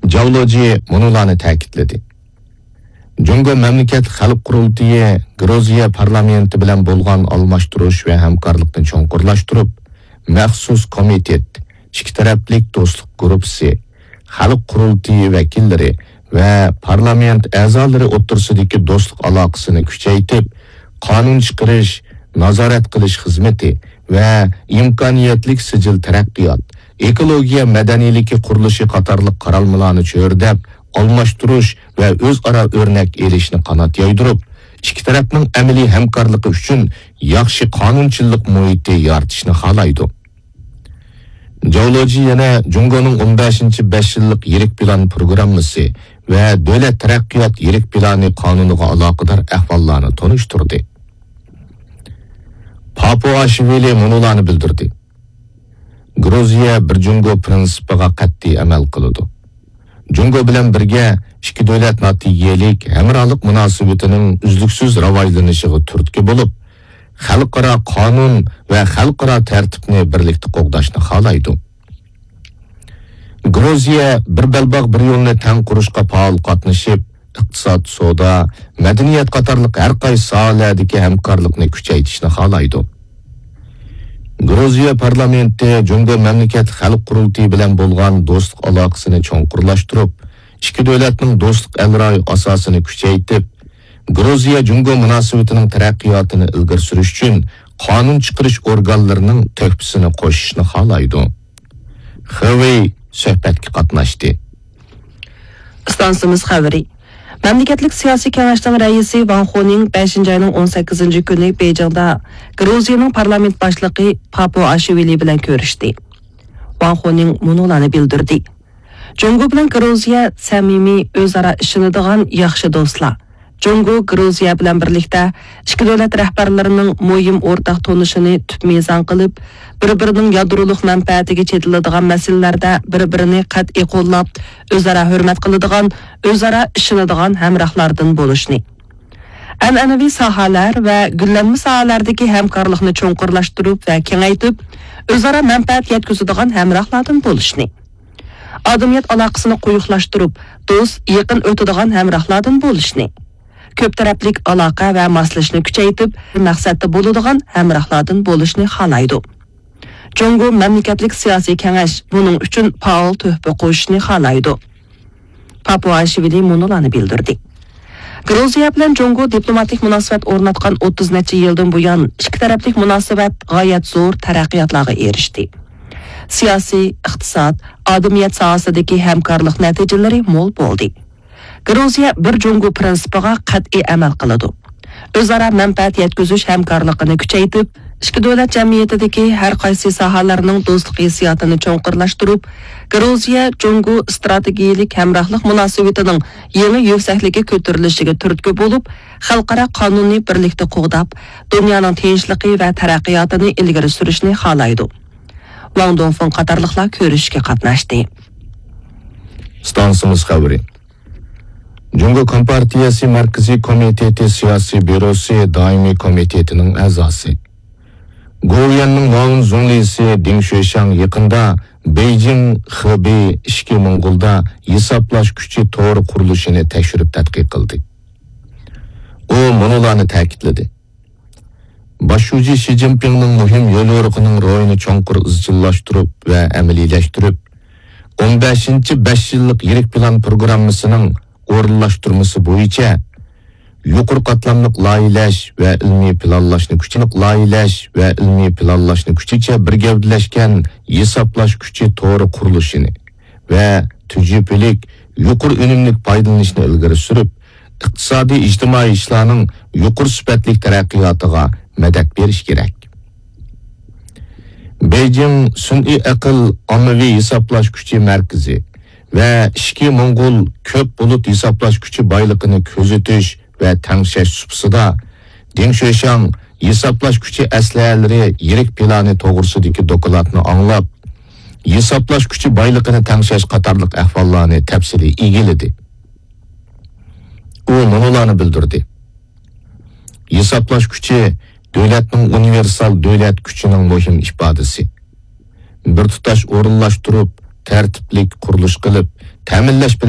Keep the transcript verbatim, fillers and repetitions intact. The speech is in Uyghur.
جاۋ لېجى مۇنۇلارنى تەكىتلىدى: جۇڭگو مەملىكەت خەلق قۇرۇلتىيى گرۇزىيە پارلامېنتى بىلەن بولغان ئالماشتۇرۇش ۋە ھەمكارلىقنى چوڭقۇرلاشتۇرۇپ، مەخسۇس كومىتېت، ئىككى تەرەپلىك دوستلۇق گۇرۇپپىسى، خەلق قۇرۇلتىيى ۋەكىللىرى ۋە پارلامېنت ئەزالىرى ئوتتۇرىسىدىكى دوستلۇق ئالاقىسىنى كۈچەيتىپ، قانۇن چىقىرىش، نازارەت قىلىش خىزمىتى ۋە ئىمكانىيەتلىك سىجىل تەرەققىيات، ئېكولوگىيە مەدەنىيلىكى قۇرۇلۇشى قاتارلىق قارالمىلارنى چۆرىدەپ، ئالماشتۇرۇش ۋە ئۆزئارا ئۆرنەك ئېلىشنى قانات يايدۇرۇپ، ئىككى تەرەپنىڭ ئەمەلىي ھەمكارلىقى ئۈچۈن ياخشى قانۇنچىلىق مۇھىتى يارىتىشنى خالايدۇ. جاۋ لېجى يەنە جۇڭگونىڭ ئون بەشىنچى بەش يىللىق يىرىك پىلان پروگراممىسى ۋە دۆلەت تەرەققىيات يىرىك پىلانى قانۇنىغا ئالاقىدار ئەھۋاللارنى تونۇشتۇردى. پاپۇئاشۋىلى مۇنۇلارنى بىلدۈردى: گرۇزىيە بىر جۇڭگو پىرىنسىپىغا قەتئىي ئەمەل قىلىدۇ. جۇڭگو بىلەن بىرگە ئىككى دۆلەت ناتىجىلىك ھەمراھلىق مۇناسىۋىتىنىڭ ئۈزلۈكسىز راۋاجلىنىشىغا تۈرتكە بولۇپ، خەلقئارا قانۇن ۋە خەلقئارا تەرتىپنى بىرلىكتە قوغداشنى خالايدۇ. گرۇزىيە بىر بەلباغ، بىر يولنى تەڭ قۇرۇشقا پائال قاتنىشىپ، ئىقتىساد، سودا، مەدەنىيەت قاتارلىق ھەر قايسى ساھەلەردىكى ھەمكارلىقنى كۈچەيتىشنى خالايدۇ. گرۇزىيە پارلامېنتى جۇڭگو مەملىكەت خەلق قۇرۇلتىيى بىلەن بولغان دوستلۇق ئالاقىسىنى چوڭقۇرلاشتۇرۇپ، ئىككى دۆلەتنىڭ دوستلۇق ئەلرايى ئاساسىنى كۈچەيتىپ، گرۇزىيە جۇڭگو مۇناسىۋىتىنىڭ تەرەققىياتىنى ئىلگىرى سۈرۈش ئۈچۈن قانۇن چىقىرىش ئورگانلىرىنىڭ تۆھپىسىنى قوشۇشنى خالايدۇ. خېۋېي سۆھبەتكە قاتناشتى. ئىستانسىمىز خەۋىرى. مەملىكەتلىك سىياسىي كېڭەشنىڭ رەئىسى ۋاڭ خۇنىڭ بەشىنچى ئاينىڭ ئون سەككىزىنچى كۈنى بېيجىڭدا گرۇزىيىنىڭ پارلامېنت باشلىقى پاپۇئاشۋىلى بىلەن كۆرۈشتى. ۋاڭ خۇنىڭ مۇنۇلارنى بىلدۈردى: جۇڭگو بىلەن گرۇزىيە سەمىمىي، ئۆزئارا ئىشىنىدىغان ياخشى دوستلار. جۇڭگو گرۇزىيە بىلەن بىرلىكتە ئىككى دۆلەت رەھبەرلىرىنىڭ مۇھىم ئورتاق تونۇشىنى تۈپ مىزان قىلىپ، بىر-بىرىنىڭ يادرولۇق مەنپەئەتىگە چېتىلىدىغان مەسىلىلەردە بىر-بىرىنى قەتئىي قوللاپ، ئۆزئارا ھۆرمەت قىلىدىغان، ئۆزئارا ئىشىنىدىغان ھەمراھلاردىن بولۇشنى، ئەنئەنىۋى ساھەلەر ۋە گۈللەنمە ساھەلەردىكى ھەمكارلىقنى چوڭقۇرلاشتۇرۇپ ۋە كېڭەيتىپ، ئۆزئارا مەنپەئەت يەتكۈزىدىغان ھەمراھلاردىن بولۇشنى، ئادەمىيەت ئالاقىسىنى قويۇقلاشتۇرۇپ، دوست، يېقىن ئۆتىدىغان ھەمراھلاردىن بولۇشنى، كۆپ تەرەپلىك ئالاقە ۋە ماسلىشىشنى كۈچەيتىپ، مەقسەتتە بولىدىغان ھەمراھلاردىن بولۇشنى خالايدۇ. جۇڭگو مەملىكەتلىك سىياسىي كېڭەش بۇنىڭ ئۈچۈن پائال تۆھپە قوشۇشنى خالايدۇ. پاپۇئاشۋىلى مۇنۇلارنى بىلدۈردى: گرۇزىيە بىلەن جۇڭگو دىپلوماتىك مۇناسىۋەت ئورناتقان ئوتتۇز نەچچە يىلدىن بۇيان، ئىككى تەرەپلىك مۇناسىۋەت غايەت زور تەرەققىياتلارغا ئېرىشتى. سىياسىي، ئىقتىساد، ئادەمىيەت ساھەسىدىكى ھەمكارلىق نەتىجىلىرى مول بولدى. گرۇزىيە بىر جۇڭگو پىرىنسىپىغا قەتئىي ئەمەل قىلىدۇ. ئۆزئارا مەنپەئەت يەتكۈزۈش ھەمكارلىقىنى كۈچەيتىپ، ئىككى دۆلەت جەمئىيىتىدىكى ھەر قايسى ساھەلەرنىڭ دوستلۇق ھېسسىياتىنى چوڭقۇرلاشتۇرۇپ، گرۇزىيە جۇڭگو ئىستراتېگىيەلىك ھەمراھلىق مۇناسىۋىتىنىڭ يېڭى يۈكسەكلىككە كۆتۈرۈلۈشىگە تۈرتكە بولۇپ، خەلقئارا قانۇننى بىرلىكتە قوغداپ، دۇنيانىڭ تىنچلىقى ۋە تەرەققىياتىنى ئىلگىرى سۈرۈشنى خالايدۇ. ۋاڭ دۇڭفېڭ قاتارلىقلار كۆرۈشۈشكە قاتناشتى. ئىستانسىمىز خەۋىرى. جۇڭگو كومپارتىيەسى مەركىزىي كومىتېتى سىياسىي بيۇروسى دائىمىي كومىتېتىنىڭ ئەزاسى، گوۋۇيۈەننىڭ مۇئاۋىن زۇڭلىسى دېڭ شۆشياڭ يېقىندا بېيجىڭ خېبېي ئىچكى موڭغۇلدا ھېسابلاش كۈچى تورى قۇرۇلۇشىنى تەكشۈرۈپ تەتقىق قىلدى. ئۇ مۇنۇلارنى تەكىتلىدى: باش شۇجى شى جىنپىڭنىڭ مۇھىم يوليورۇقىنىڭ روھىنى چوڭقۇر ئىزچىللاشتۇرۇپ ۋە ئەمەلىيلەشتۈرۈپ، ئون بەشىنچى بەش يىللىق يىرىك پىلان پروگراممىسىنىڭ ئورۇنلاشتۇرمىسى بويىچە يۇقىرى قاتلاملىق لايىھەلەش ۋە ئىلمىي پىلانلاشنى كۈچەيتىپ، لايىھەلەش ۋە ئىلمىي پىلانلاشنى كۈچەيتىشكە بىر گەۋدىلەشكەن ھېسابلاش كۈچى تورى قۇرۇلۇشىنى ۋە تۈجۈپىلىك يۇقىرى ئۈنۈملۈك پايدىلىنىشنى ئىلگىرى سۈرۈپ، ئىقتىسادىي، ئىجتىمائىي ئىشلارنىڭ يۇقىرى سۈپەتلىك تەرەققىياتىغا مەدەت بېرىش كېرەك. بېيجىڭ سۈنئىي ئەقىل ئاممىۋى ھېسابلاش كۈچى مەركىزى ۋە ئىچكى موڭغۇل كۆپ بۇلۇت ھېسابلاش كۈچى بايلىقىنى كۆزىتىش ۋە تەڭشەش سۇپىسىدا دېڭ شۆشياڭ ھېسابلاش كۈچى ئەسلىھەلىرى يىرىك پىلانى توغرىسىدىكى دوكلاتنى ئاڭلاپ، ھېسابلاش كۈچى بايلىقىنى تەڭشەش قاتارلىق ئەھۋاللارنى تەپسىلىي ئىگىلىدى. ئۇ مۇنۇلارنى بىلدۈردى: ھېسابلاش كۈچى دۆلەتنىڭ ئۇنىۋېرسال دۆلەت كۈچىنىڭ مۇھىم ئىپادىسى. بىر تۇتاش ئورۇنلاشتۇرۇپ، تەرتىپلىك قۇرۇلۇش قىلىپ، تەمىنلەش بىلەن